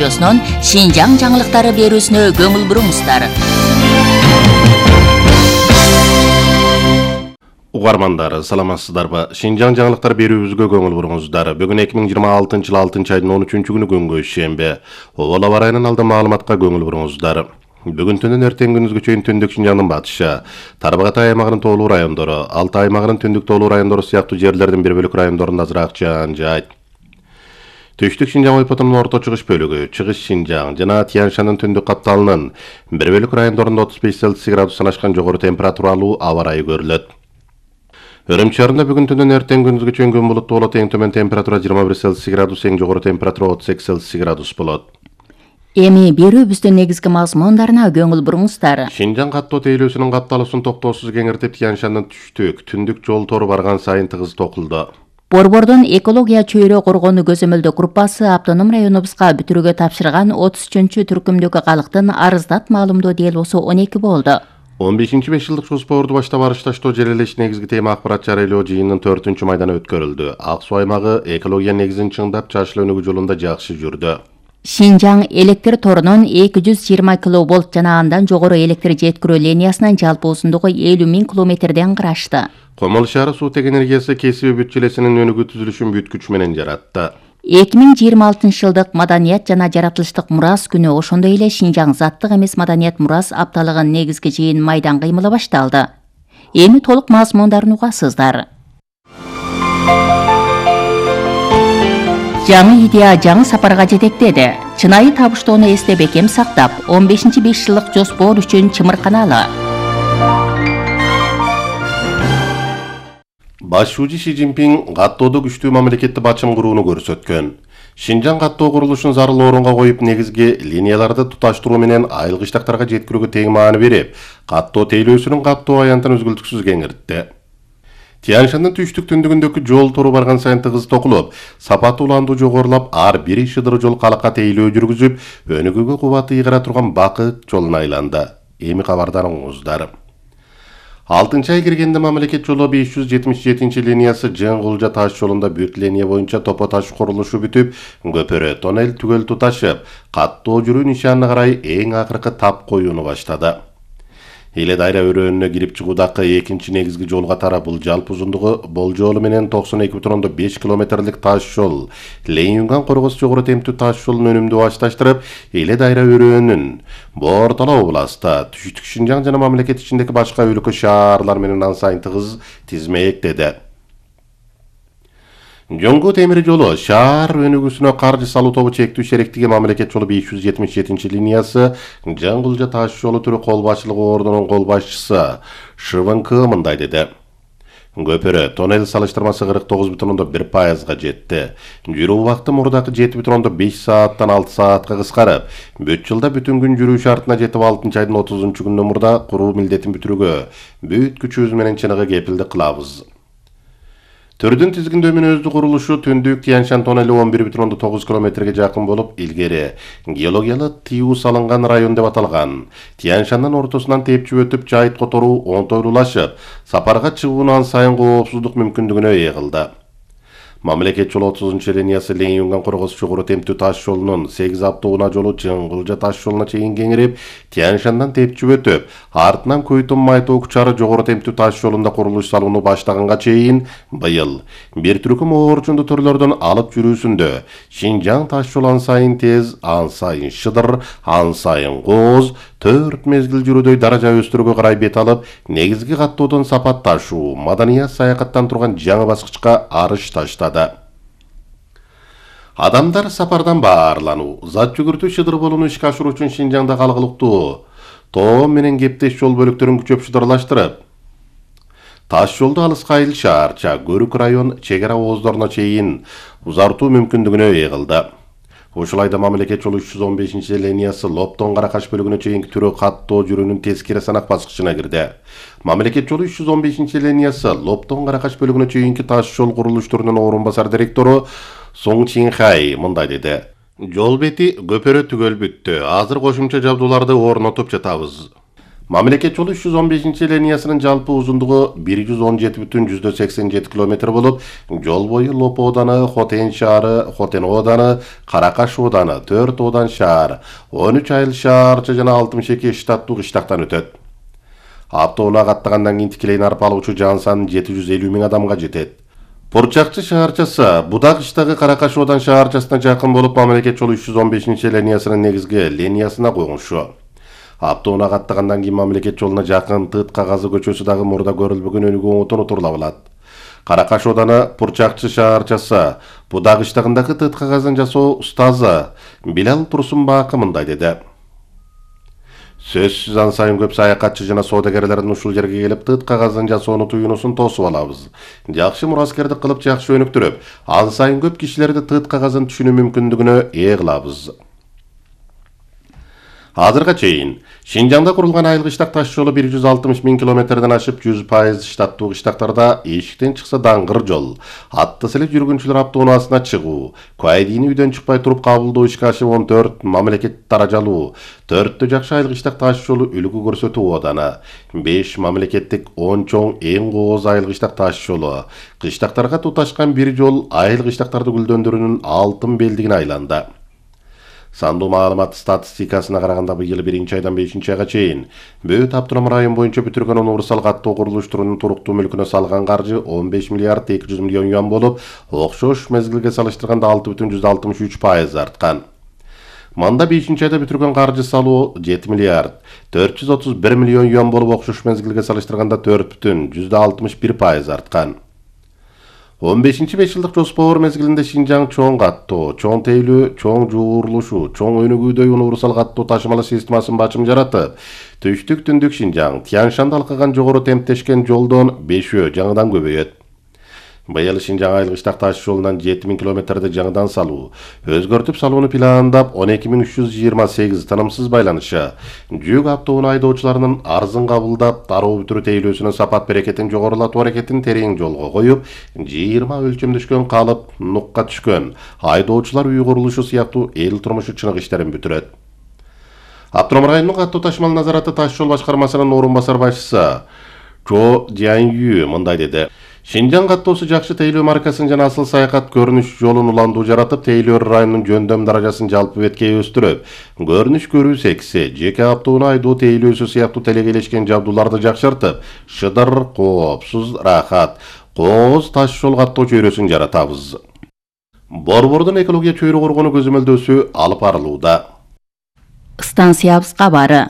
Шинжаң жаңылыктары берүүсүнө көңүл буруңуздар. Угармандар, саламатсыздарбы? Шинжаң жаңылыктар берүүбүзгө көңүл буруңуздар. Бүгүн 2026 жыл 6-айдын 13-күнү күнгө шембе. Ола барайынан алды маалыматка көңүл буруңуздар. Бүгүн түнүн эртең күнүзгө чейин түндүк Шинжаңдын батышы, Тарбагатай аймагынын тоолуу райондору, Алтай аймагынын түндүк тоолуу райондору сыяктуу жерлердин бир бөлүк райондорунда азыраак жаан жаайт. Түштүк Шинжаң ойпотунун орто чыгыш бөлүгү, Чыгыш Шинжаң жана Тянь-Шанын түндүк капталынын бир бөлүк райондорунда 35 Цельсий градустан ашкан жогору температуралуу аба ырайы көрүлөт. Өрөм шаарында бүгүн түнүн эртең күнүзгө чейин күн булуттуу болот, эң төмөн температура 21 Цельсий градус, эң жогору температура 38 Цельсий градус болот. Эми берүүбүздүн негизги мазмундарына көңүл буруңуздар. Шинжаң каттоо тейлөөсүнүн капталысын токтоосуз кеңиртип, Тянь-Шанын түндүк жол тору барган сайын тыгыз токулду. Борбордун экология чөйрө коргонуу көзөмөлдөө группасы автоном районубузга бүтүрүүгө тапшырган 33-чү түркүмдөгү калктын арыздат маалымдоо делосу 12 болду. 15-5 жылдык жоспорду баштап барышташтоо жерелеш негизги тема акпарат жарыялоо жыйынынын 4-чү майданы өткөрүлдү. Ак Суу аймагы экология негизин чыңдап, жашыл өнүгүү жолунда жакшы жүрдү. Шинжаң электр торунун 220 киловольт жана андан жогору электр жеткирүү линиясынын жалпы узундугу 50 000 километрден кырашты. Комол шаары суу-тег энергиясы кесиби бүт желесинин өнүгүү түзүлүшүн бүт күч менен жаратты. 2026 жылдык маданият жана жаратылыштык мурас күнү, ошондой эле Шинжаң заттык эмес маданият мурас апталыгынын негизги жыйын майдан кыймылы башталды. Эми толук мазмундарын угасыздар. Жаңы идея жаңы сапарга жетектеди. Чынайы табыштоону эсте бекем сактап, 15-5 жылдык жоспор үчүн чымырканалы. Башчы Ши Цзиньпин каттоодо күчтүү мамлекетти бачым курууну көрсөткөн. Шинжаң каттоо курулушун зарыл орунга коюп, негизги линияларды туташтыруу менен айыл-кыштактарга жеткирүүгө тең маани берип, каттоо тейлөөсүнүн каттоо аянтын үзгүлтүксүз кеңиртти. Тянь-Шанын түштүк түндүгүндөгү жол тору барган сайын тыгыз токулуп, сапаты уландуу жогорулап, ар бир шыдыр жол калакка тейлөө жүргүзүп, өнүгүүгө кубаты ыйгара турган бакыт жолуна айланды. Эми кабардарыңыздар. 6-ай киргенде мамлекет жолу 577 линиясы Жыңгулжа таш жолунда бүт линия боюнча топо таш курулушу бүтүп, көпөрө тоннель түгөл туташып, каттоо жүрүү нишанына карай эң акыркы тап коюуну баштады. Эле дайра өрөөнүнө кирип чыгуудагы экинчи негизги жолго тарап, бул жалпы узундугу болжолу менен 92,5 километрлик таш жол. Лейюнган Коргос жогору темптүү таш жолун өнүмдүү башташтырып, эле дайра өрөөнүн Бортала областа, түштүк Шинжаң жана мамлекет ичиндеги башка өлкө шаарлар менен ан сайын тыгыз тизмектеди. Жоңгу темир жолу шаар өнүгүүсүнө каржы салуу тобу чектүү шеректиги мамлекет жолу 577 линиясы Жыңгулжа таш жолу түрү кол башчылыгы ордунун кол башчысы ШВНК мындай деди. Көпөрө тоннель салыштырмасы 49,1%га жетти. Жүрүү убакыты мурдакы 7,5 сааттан 6 саатка кыскарып, бүт жылда бүтүн күн жүрүү шартына жетип, 6-айдын 30-күнү мурда куруу милдетин бүтүрүүгө бүт күчүбүз менен чыныгы кепилдик кылабыз. Түрдүн тизгиндөө өздүк курулушу түндүк Тянь-Шан тоннели 11,9 километрге жакын болуп, илгери геологиялык тиүү салынган район деп аталган. Тянь-Шандын ортосунан тепчип өтүп, жайыт которуу оңтойлуулашып, сапарга чыгуунун сайын коопсуздук мүмкүндүгүнө ээ кылды. Мамлекет жолу 30-чы линиясы Лейюнган Коргос жогору темптүү таш жолунун 8 автоунаа жолу Жыңгулжа таш жолуна чейин кеңирип, Тянь-Шандан тепчип өтүп, артынан Көйтөн Майтоо Кучары жогору темптүү таш жолунда курулуш салууну баштаганга чейин быйыл бир түркүм оорчунду түрлөрдөн алып жүрүүсүндө Шинжаң таш жолу ан сайын тез, ан сайын шыдыр, ан сайын кооз, 4 мезгил жүрүүдөй даража өстүрүүгө карай бет алып, негизги каттоодон сапатташуу, маданият саякаттан турган жаңы баскычка арыш таштады. Адамдар сапардан баарлануу, зат жүгүртүү шыдыр болууну ишке ашыруу үчүн Шинжаңда калгылыктуу тоом менен кептеш жол бөлүктөрүн күчөп шыдырлаштырып, таш жолду алыска айыл шаарча, Көрүк район чек ара ооздоруна чейин узартуу мүмкүндүгүнө ээ кылды. Ушул айда мамлекет жолу 315 линиясы Лоптон Каракаш бөлүгүнө чейинки түрү каттоо жүрүүнүн тескери санак баскычына кирди. Мамлекет жолу 315 линиясы Лоптон Каракаш бөлүгүнө чейинки таш жол курулуштарынын орун басар директору Соң Чинхай мындай деди. Жол бети көпөрө түгөл бүттү. Азыр кошумча жабдууларды орнотуп жатабыз. Мамлекет жолу 315 линиясынын жалпы узундугу 117,87 км болуп, жол бою Лопо ооданы, Хотен шаары, Хотен ооданы, Каракаш ооданы, 4 Одан шаар, 13 Айыл шаарча жана 62 штаттуу кыштактан өтөт. Автоунаа каттагандан кийин тикелей арып алуучу жан саны 750 000 адамга жетет. Пурчакчы шаарчасы Будак-Кыштагы Каракаш Одан шаарчасына жакын болуп, мамлекет жолу 315 линиясынын негизги линиясына койгоншу. Автоунаа каттагандан кийин мамлекет жолуна жакын Тыт Кагазы көчөсү дагы мурда көрүлбөгөн өнүгүү отон отурула алат. Каракаш Ооданы Пурчакчы шаарчасы Будак-Кыштагындагы Тыт Кагазын жасоо устазы Билал Турсунбаакы мындай деди. Сөзсүз ан сайын көп саякатчы жана соодагерлердин ушул жерге келип Тыт Кагазын жасоону туюнусун тосуп алабыз. Жакшы мураскердик кылып, жакшы өнүктүрүп, ан сайын көп кишилерди Тыт Кагазын түшүнүү мүмкүндүгүнө ээ кылабыз. Азырга чейин Шинжаңда курулган айыл кыштак таш жолу 160 000 километрден ашып 100% штаттуу кыштактарда эшиктен чыкса даңгыр жол, атты селе жүргүнчүлөр автоунаасына чыгуу, куайдийни үйдөн чыкпай туруп кабылдоо ишке ашып 14 мамлекет даражалуу, 4 жакшы айыл кыштак таш жолу үлгү көрсөтүү ооданы, 5 мамлекеттик 10 чоң эң кооз айыл кыштак таш жолу, кыштактарга туташкан бир жол айыл кыштактарды гүлдөндүрүүнүн алтын белдигине айланды. Сандуу маалымат статистикасына караганда быйыл 1-айдан 5-айга чейин Бөт автоном район боюнча бүтүргөн универсал каттоо курулуштарынын туруктуу мүлкүнө салган каржы 15 миллиард 200 миллион юан болуп, окшош мезгилге салыштырганда 6,63% арткан. Манда 5-айда бүтүргөн каржы салуу 7 миллиард 431 миллион юан болуп, окшош мезгилге салыштырганда 4,61% арткан. 15-5 жылдык жоспор мезгилинде Шинжаң чоң каттоо, чоң тейлөө, чоң жуурулушу, чоң өнүгүүдө универсал каттоо ташымалы системасын бачым жаратып, түштүк түндүк Шинжаң Тяншанды алкаган жогору темптешкен жолдон 5 жаңыдан көбөйөт. Быйыл Шинжаң айыл кыштак таш жолунан 7000 километрди жаңыдан салуу, өзгөртүп салууну пландап 12328 тынымсыз байланышы, жүк автоунаа айдоочуларынын арзын кабылдап, дароо бүтүрүү тейлөөсүнүн сапат берекетин жогорулатуу аракетин терең жолго коюп, 20 өлчөмдөшкөн калып, нукка түшкөн айдоочулар үй курулушу сыяктуу эл турмушу чынык иштерин бүтүрөт. Автоном районунун каттоо ташмал назараты таш жол башкармасынын орун басар башчысы Чо Дянью мындай деди. Шинжаң каттоосу жакшы тейлөө маркасын жана асыл саякат көрүнүш жолун уландуу жаратып, тейлөө районунун жөндөм даражасын жалпы бетке өстүрүп, көрүнүш көрүү секси, жеке автоунаа айдоо тейлөөсү сыяктуу телегелешкен жабдууларды жакшыртып, шыдыр, коопсуз, рахат, кооз таш жол каттоо чөйрөсүн жаратабыз. Борбордун экология чөйрө коргонуу көзөмөлдөөсү алып барылууда. Станциябыз кабары.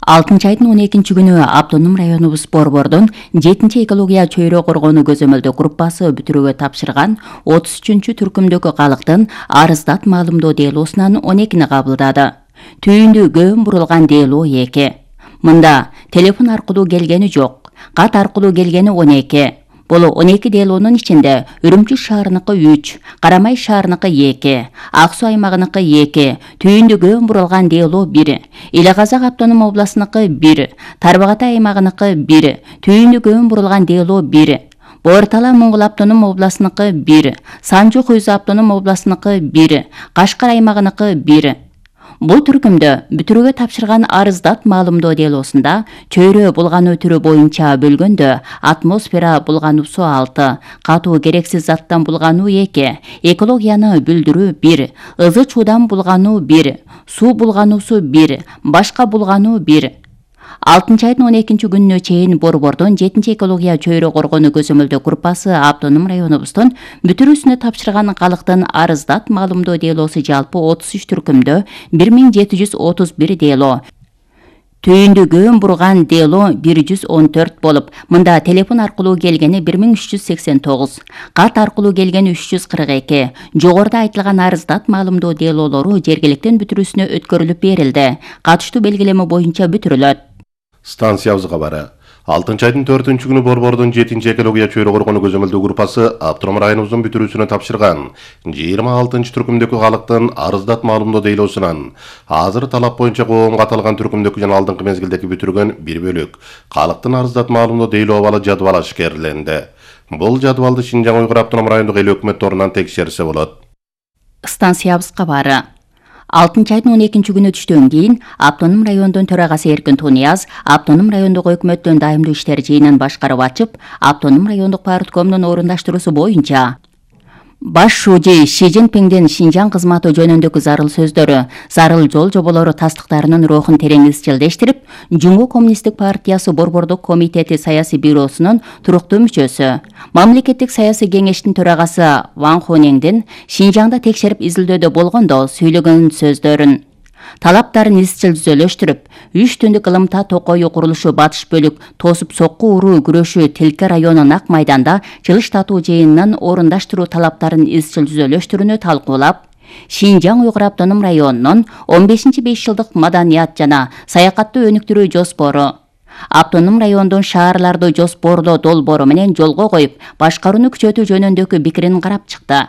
6-айдын 12-күнү автоном районубуз Борбордун 7 экология чөйрө коргонуу көзөмөлдөө группасы бүтүрүүгө тапшырган 33 түркүмдөгү калктын арыздат маалымдоо делоосунан 12-ни кабылдады. Түйүндү көөн бурулган делоо 2. Мында телефон аркылуу келгени жок, кат аркылуу келгени 12. Бул 12 делоонун ичинде Үрүмчү шаарыныкы 3, Карамай шаарыныкы 2, Ак Суу аймагыныкы 2, Түйүндү көөн бурулган делоо 1, Эле Казак автоном областыныкы 1, Тарбагатай аймагыныкы 1, Түйүндү көөн бурулган делоо 1, Боор-Тала Моңгол автоном областыныкы 1, Санжу Куйзу автоном областыныкы 1, Кашкар аймагыныкы 1. Бул түркүмдө бүтүрүүгө тапшырган арыздат маалымдоо делоосунда чөйрө булгануу түрү боюнча бөлгөндө атмосфера булгануу суу 6, катуу керексиз заттан булгануу 2, экологияны бүлдүрүү 1, ызы чуудан булгануу 1, суу булгануусу 1, башка булгануу 1. 6-айдын 12-күнүнө чейин Борбордун 7 экология чөйрө коргонуу көзөмөлдөө группасы автоном районубуздун бүтүрүүсүнө тапшырган калктын арыздат маалымдоо делоосу жалпы 33 түркүмдө 1731 дело. Түйүндү көөн бурган дело 114 болуп, мында телефон аркылуу келгени 1389, кат аркылуу келгени 342, жогоруда айтылган арыздат маалымдоо делоолору жергиликтин бүтүрүүсүнө өткөрүлүп берилди. Катыштуу белгилеме боюнча бүтүрүлөт. Станциябыз кабары. 6-айдын 4-күнү Борбордун 7 экология чөйрө коргонуу көзөмөлдөө группасы автоном районубуздун бүтүрүүсүнө тапшырган 26 түркүмдөгү калктын арыздат маалымдоо делоосунан азыр талап боюнча коомго аталган түркүмдөгү жана алдыңкы мезгилдеги бүтүргөн бир бөлүк калктын арыздат маалымдоо делоо абалы жадвал ашкерленди. Бул жадвалды Шинжаң Уйгур автоном райондук эл өкмөт торунан текшерсе болот. Станциябыз кабары. 6 айдын 12 түштөн кийин автоном райондун төрагасы Эркин Тунияз автоном райондук өкмөттүн дайымдуу иштер жыйынын башкарып ачып, автоном райондук парткомдун орундаштыруусу боюнча баш шужи Ши Цзиньпиндин Шинжаң кызматы жөнүндөгү зарыл сөздөрү, зарыл жол жоболору тастыктарынын рухун терең изчилдештирип, Жумгу коммунисттик партиясы Борбордук комитети саясий бюросунун туруктуу мүчөсү, мамлекеттик саясий кеңештин төрагасы Ван Хонеңдин Шинжаңда текшерип изилдөөдө болгондо сүйлөгөн сөздөрүн, талаптарын изчил түзөлөштүрүп, 3 түндүк ылымта токою курулушу батыш бөлүк тосуп сокку уруу күрөшү Тилке району Нак майданда жылыштатуу жыйынынын орундаштыруу талаптарын изчил түзөлөштүрүүнү талкуулап, Шинжаң Уйгур автоном районунун 15-5 жылдык маданият жана саякатты өнүктүрүү жоспору, автоном райондун шаарларды жоспорлоо долбоору менен жолго коюп, башкарууну күчөтүү жөнүндөгү пикирин карап чыкты.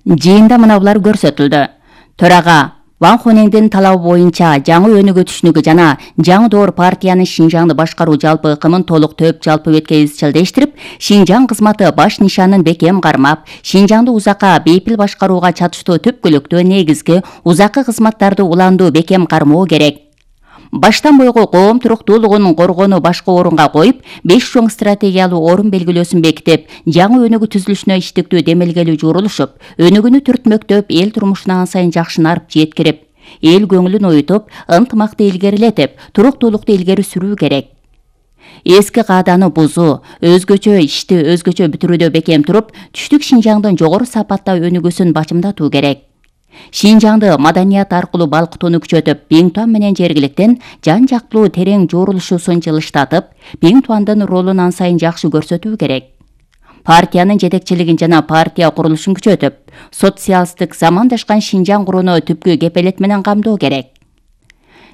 Жыйында мынабулар көрсөтүлдү. Төрага Ван Хонеңдин талабы боюнча жаңы өнүгүү түшүнүгү жана жаңы доор партиянын Шинжаңды башкаруу жалпы ыкымын толук төп жалпы бетке изчилдештирип, Шинжаң кызматы баш нишанын бекем кармап, Шинжаңды узакка бейпил башкарууга чатыштуу түпкүлүктүү негизги узаккы кызматтарды уландуу бекем кармоо керек. Баштан бойгу коом туруктуулугун коргоону башкы орунга коюп, 5 чоң стратегиялуу орун белгилөөсүн бекитип, жаңы өнүгүү түзүлүшүнө иштиктүү демелгелүү журулушуп, өнүгүүнү түртмөктөп, эл турмушуна ан сайын жакшынарып жеткирип, эл көңүлүн оютуп, ынтымакты илгерилетип, туруктуулукту илгери сүрүү керек. Эски кааданы бузуу, өзгөчө ишти өзгөчө бүтүрүүдө бекем туруп, түштүк Шинжаңдын жогору сапатта өнүгүүсүн бачымдатуу керек. Шинжаңды маданият аркылуу балкытууну күчөтүп, Биңтуан менен жергиликтен жан-жактуу терең журулушуусун жылыштатып, Биңтуандын ролун ан сайын жакшы көрсөтүү керек. Партиянын жетекчилигин жана партия курулушун күчөтүп, социалисттик замандашкан Шинжаң курууну түпкү кепелет менен камдоо керек.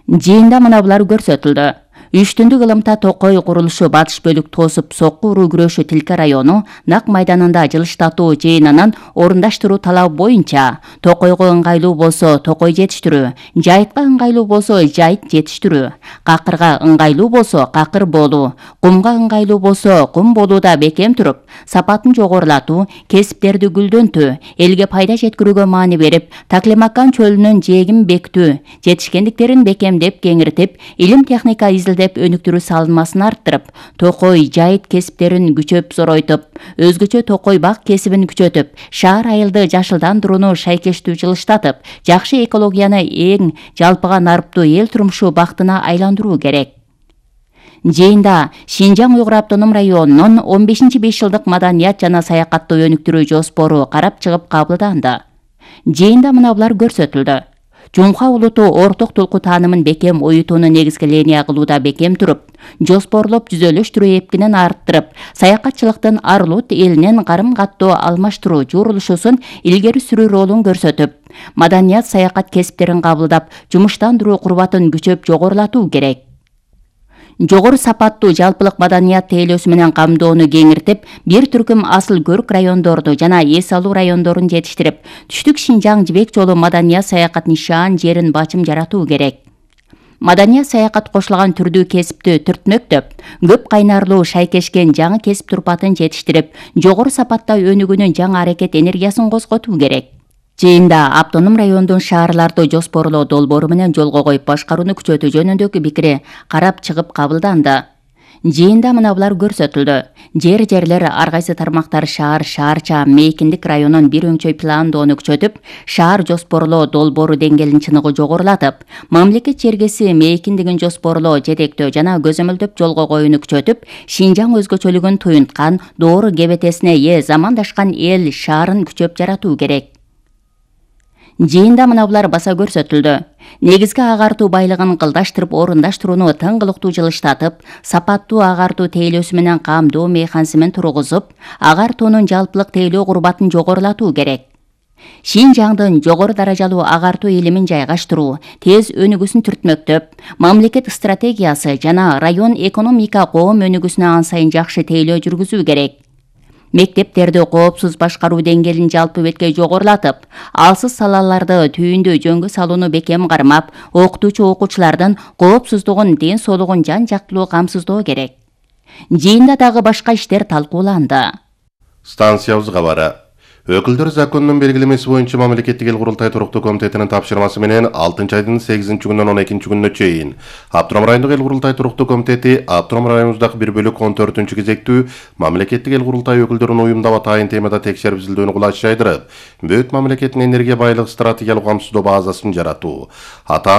Жыйында мынабулар көрсөтүлдү. 3 түндүк ылымта токой курулушу батыш бөлүк тосуп сокку уруу күрөшү Тилке району Нак майданында жылыштатуу жыйынынын орундаштыруу талабы боюнча токойго ыңгайлуу болсо токой жетиштирүү, жайытка ыңгайлуу болсо жайыт жетиштирүү, какырга ыңгайлуу болсо какыр болуу, кумга ыңгайлуу болсо кум болууда бекем туруп, сапатын жогорулатуу, кесиптерди гүлдөнтүү, элге пайда жеткирүүгө маани берип, Таклимакан чөлүнүн жээгин бекитүү, жетишкендиктерин бекемдеп кеңиртип, илим техника изилдеп өнүктүрүү салынмасын арттырып, токой жайыт кесиптерин күчөп зоройтуп, өзгөчө токой бак кесибин күчөтүп, шаар айылды жашылдандырууну шайкештүү жылыштатып, жакшы экологияны эң жалпыга нарыптуу эл турмушу бактына айландыруу керек. Жыйында Шинжаң Уйгур автоном районунун 15-5 жылдык маданият жана саякатты өнүктүрүү жоспору карап чыгып кабылданды. Жыйында мынабулар көрсөтүлдү. Жумха улуту орток тулку таанымын бекем оютууну негизги линия кылууда бекем туруп, жоспорлоп түзөлөштүрүү эпкинин арттырып, саякатчылыктын Арлут элинен карым-каттоо алмаштыруу журулушусун илгери сүрүү ролун көрсөтүп, маданият саякат кесиптерин кабылдап, жумуштандыруу курбатын күчөп жогорулатуу керек. Жогору сапаттуу жалпылык маданият тейлөөсү менен камдоону кеңиртип, бир түркүм асыл көрк райондорду жана эс алуу райондорун жетиштирип, түштүк Шинжаң жибек жолу маданият саякат нишан жерин бачым жаратуу керек. Маданият саякат кошулган түрдүү кесипти түртмөктөп, көп кайнарлуу шайкешкен жаңы кесип турпатын жетиштирип, жогору сапатта өнүгүүнүн жаңы аракет энергиясын козготуу керек. Жыйында автоном райондун шаарларды жоспорлоо долбоору менен жолго коюп башкарууну күчөтүү жөнүндөгү пикири карап чыгып кабылданды. Жыйында мынабулар көрсөтүлдү. Жерлер ар кайсы тармактар шаарча мейкиндик районун бир өңчөй пландоону күчөтүп, шаар жоспорлоо долбоору деңгээлин чыныгы жогорулатып, мамлекет чергеси мейкиндигин жоспорлоо, жетектөө жана көзөмөлдөп жолго коюуну күчөтүп, Шинжаң өзгөчөлүгүн туюнткан, доору кебетесине ээ замандашкан эл шаарын күчөп жаратуу керек. Жыйында мынабулар баса көрсөтүлдү. Негизги агартуу байлыгын кылдаштырып орундаштырууну тыңгылыктуу жылыштатып, сапаттуу агартуу тейлөөсү менен камдоо механизмин тургузуп, агартуунун жалпылык тейлөө курбатын жогорулатуу керек. Шинжаңдын жогору даражалуу агартуу илимин жайгаштыруу, тез өнүгүүсүн түртмөктөп, мамлекет стратегиясы жана район экономика коом өнүгүүсүнө ан сайын жакшы тейлөө жүргүзүү керек. Мектептерди коопсуз башкаруу деңгээлин жалпы бетке жогорулатып, алсыз салаларды түйүндүү жөнгө салууну бекем кармап, окутуучу окуучулардын коопсуздугун, ден соолугун жан-жактылуу камсыздоо керек. Жыйында дагы башка иштер талкууланды. Станциябыз кабары. Өкүлдөр законунун белгилемеси боюнча мамлекеттик эл курултай туруктуу комитетинин тапшырмасы менен 6 айдын 8-күнүнөн 12-күнүнө чейин Аптурам райондук эл курултай туруктуу комитети Аптурам районубуздагы 1/14-кезектүү мамлекеттик эл курултай өкүлдөрүн уюмдап атайын темада текшерип изилдөөнү кулаш жайдырып, бөт мамлекеттин энергия байлык стратегиялык камсыздоо базасын жаратуу, атаан